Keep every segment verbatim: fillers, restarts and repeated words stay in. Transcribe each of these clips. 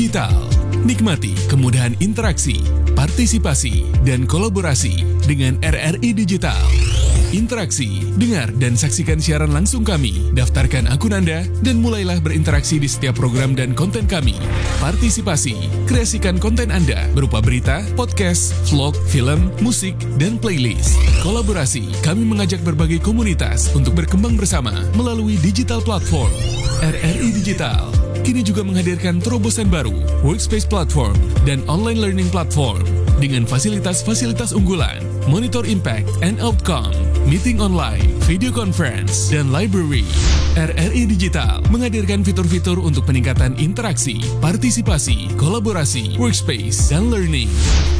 Digital. Nikmati kemudahan interaksi, partisipasi, dan kolaborasi dengan R R I Digital. Interaksi, dengar dan saksikan siaran langsung kami. Daftarkan akun Anda dan mulailah berinteraksi di setiap program dan konten kami. Partisipasi, kreasikan konten Anda berupa berita, podcast, vlog, film, musik, dan playlist. Kolaborasi, kami mengajak berbagai komunitas untuk berkembang bersama melalui digital platform. R R I Digital kini juga menghadirkan terobosan baru, Workspace Platform dan Online Learning Platform, dengan fasilitas-fasilitas unggulan, monitor impact and outcome, meeting online, video conference, dan library. R R I Digital menghadirkan fitur-fitur untuk peningkatan interaksi, partisipasi, kolaborasi, workspace, dan learning.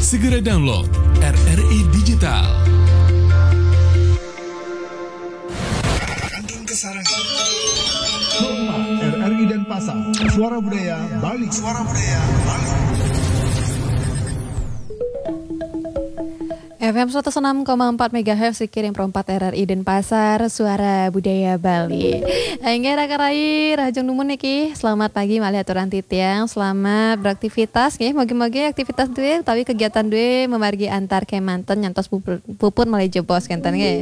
Segera download R R I Digital. Kantun Kesarangan. Rumah R R I Denpasar, Suara Budaya Bali. Suara Budaya Bali. F M seratus enam koma empat megahertz, Kiring Pro empat R R I Denpasar, Suara Budaya Bali. Inggih, raka rai, rahajeng dumun niki. Selamat pagi malih aturang titiang, selamat beraktivitas nggih. Mogi-mogi aktivitas duwe utawi kegiatan duwe memargi antar kemanten nyantos pupur, pupur malih jebos kenten nggih.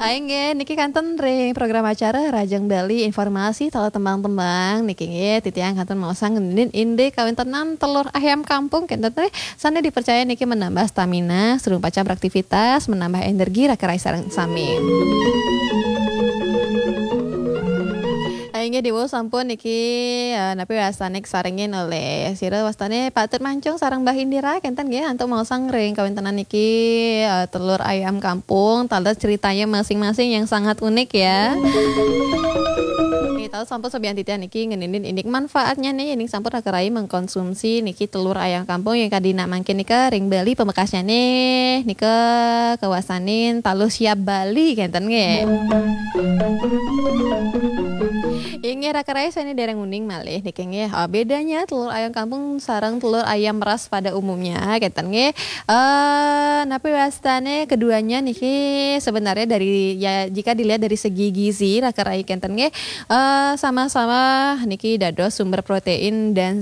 Ayo nggih, niki kantun ring program acara Rahajeng Bali, informasi taler tembang-tembang niki nggih, titiang kantun maosang ngenin indik kawintenan telur ayam kampung kenten nggih. Sane dipercaya niki menambah stamina, sedurung pacang beraktivitas, menambah energi raka rai sareng sami. Inggih, diwau sampun niki, eh, napi wastane sarengin olih sira wastane Pak Tut Mancung sareng Mbah Indira kenten nggih, antuk maosang ring kawintenan niki, eh, telur ayam kampung, taler ceritanya masing-masing yang sangat unik ya. Nggih, taler sampun sabian titiang niki ngeninin indik manfaatnya nih, indik sampun raka rai mengkonsumsi niki telur ayam kampung yang kadina mangkin nika ring Bali pamekasnya nih, nika kawastanin taler siap Bali kenten nggih. Inggih raka rai sane dereng uning malih niki nggih. Oh, bedanya telur ayam kampung sareng telur ayam ras pada umumnya kenten nggih. Eh, napi wastane keduanya niki sebenarnya dari, ya, jika dilihat dari segi gizi raka rai kenten nggih, eh, sama-sama niki dados sumber protein dan